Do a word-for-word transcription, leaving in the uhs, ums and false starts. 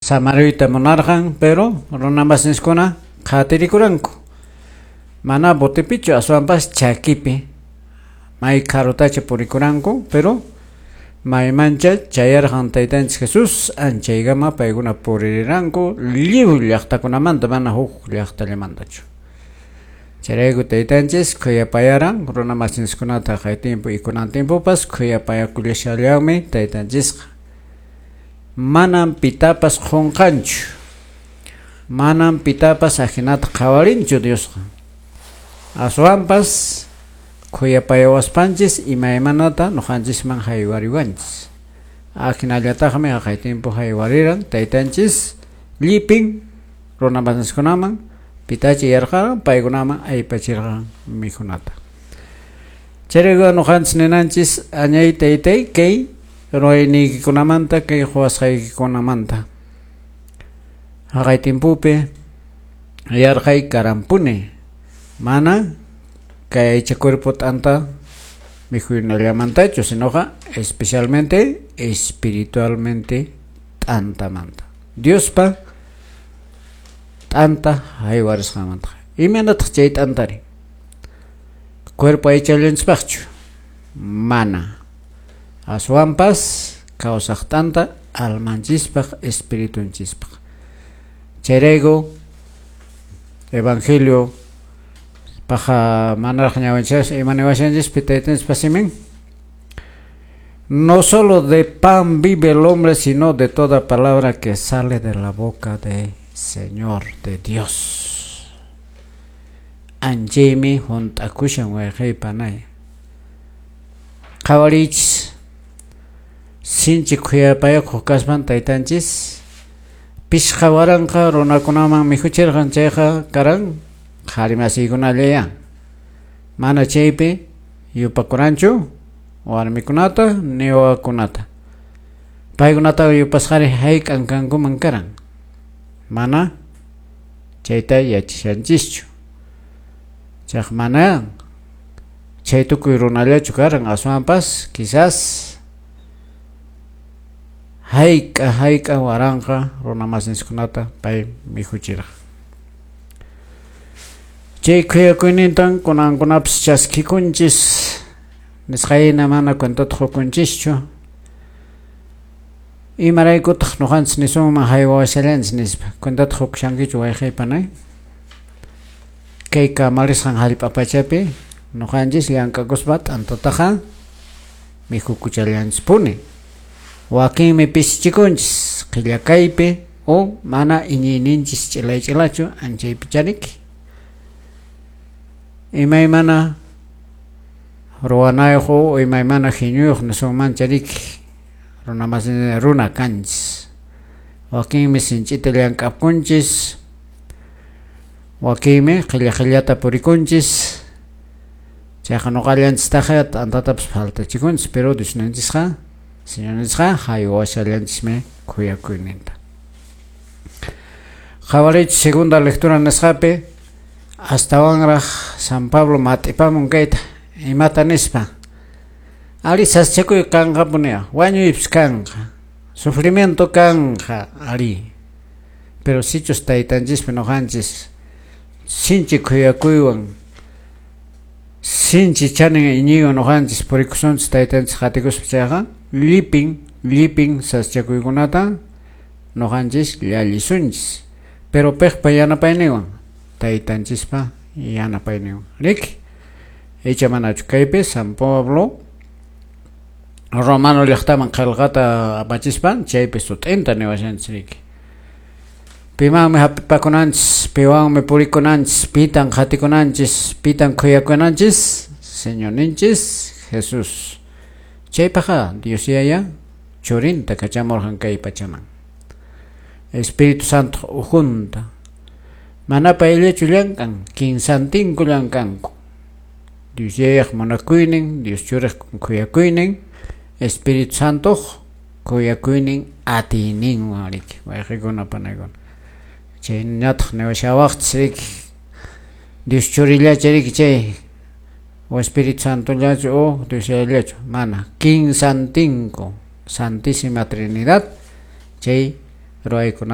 Samaruyta munarqan, pero runamasinchikuna qhatirikuranku. Mana botepichu, aswanpas chakipi may karutacha purikuranku, pero maymancha chayarqan taytanchik Jesús anchaykama paykuna puririranku lliw llaqtakunamanta, mana huk llaqtallamantachu. Chayrayku taytanchis khuyapayaran runamasinchikkunata kay tiempo y kunan tiempopas khuyapayakullashallanmi taytanchisqa. Manam pitapas qunqanchu, manam pitapas ajinata qhawarinchu Diosqa. Aswanpas khuyapayawaspanchis imaymanata nuqanchisman haywariwanchis. Ajinallataqmi haqay tiempo haywariran taytanchis llipin runamasinchikkunaman pitachi yarqaran paykunaman aypachirqan mikhunata. Chayrayku nuqanchis ninanchis añay taytay kay ruwayniykikunamanta kay quwasqaykikunamanta. Haqay tiempopi yarqay karanpuni, mana kay aycha cuerpo t'anta mikhuynallamantachu, sinoqa especialmente espiritualmente t'antamanta. Diospa t'anta haywarisqanmanta. Imaynataq chay t'antari? Cuerpo aychallanchispaqchu? Mana. Aswanpas kawsaq t'anta almanchispaq, espiritunchispaq. Chayrayku evangelio paja manaraq ñawinchas imaniwashanchispi taytanchispa simin. No solo de pan vive el hombre, sino de toda palabra que sale de la boca de Señor, de Dios. Anchaymi hunt'akushan wayqey panay. Qhawarichis sinchi khuyapayakuq kaspan taytanchis pishqa waranqa runakunaman mikhuchirqan, chayqa karan qhari masiykunallaya. Mana chaypi yupakuranchu warmikunata ni wawakunata. Paykunata yupasqari hayk'an kankuman karan. Mana chayta yachashanchischu. Chayqa mana chay tukuy runallachu karan, aswanpas quizás hayk'a hayk'a waranqa runamasinchikkunata pay mikhuchirqan. Chay khuyakuynintan kunankunapas chaskikunchis, nisqayna mana cuentata qukunchischu. Imaraykutaq nuqanchis nisunman haywawashallanchis nispa, cuentata qukushankichu wayqey panay? Kay kamarisqan hallp'a pachapi nuqanchis llank'akuspa t'antataqa mikhukuchallanchispuni. Wakinmi pisichikunchis qhillakaypi o mana iñiyninchis ch'ilay ch'ilachu anchaypi chariki. Imaymana ruwanayuq o imaymana hiñuyuq nisunman chariki runamasin runa kanchis. Wakinmi sinch'ita llank'apunchis, wakinmi qhilla qhillata purikunchis. Chayqa nuqallanchistaqa t'antatapas faltachikunchis, pero Diosninchisqa Señornisqa haywashallanchismi khuyakuyninta. Qhawariychis segunda lectura nisqapi astawanraq San Pablo mat'ipamun kayta imata nispa. Ari sasachakuy kanqapuni, wañuypis kanqa, sufrimiento kanqa, ari. Pero sichus taytanchispi nuqanchis sinchi khuyakuywan sinchi chanin iñiywan nuqanchis purikusunchis taytanchis qatikuspa chayqa llipin llipin sasachakuykunata nuqanchis llallisunchis. Pero piqpa yanapayninwan? Taytanchispa yanapayninwan. Riki? Icha manachu kaypi San Pablo Romano llaqtaman qillqata apachispan chaypi sut'inta niwashanchis riki. Pimanmi hap'ipakunanchis, piwanmi purikunanchis, pitan qhatikunanchis, pitan khuyakunanchis? Señorninchis Jesús. Chaypaqqa Dios Yaya churinta kachamurqan kay pachaman. Espíritu Santo ukhunta. Mana payllachu llank'an, kinsantinku llank'anku. Dios Yayaq munakuynin, Dios churiq khuyakuynin, Espíritu Santoq khuyakuynin atiyninwan riki, wayqikuna panaykuna. Chayñataq niwashawaqchis riki, Dios churillachu riki chay o Espíritu Santollachu o Dios Yayallachu, mana, kinsantinku, Santísima Trinidad chay ruwaykunata.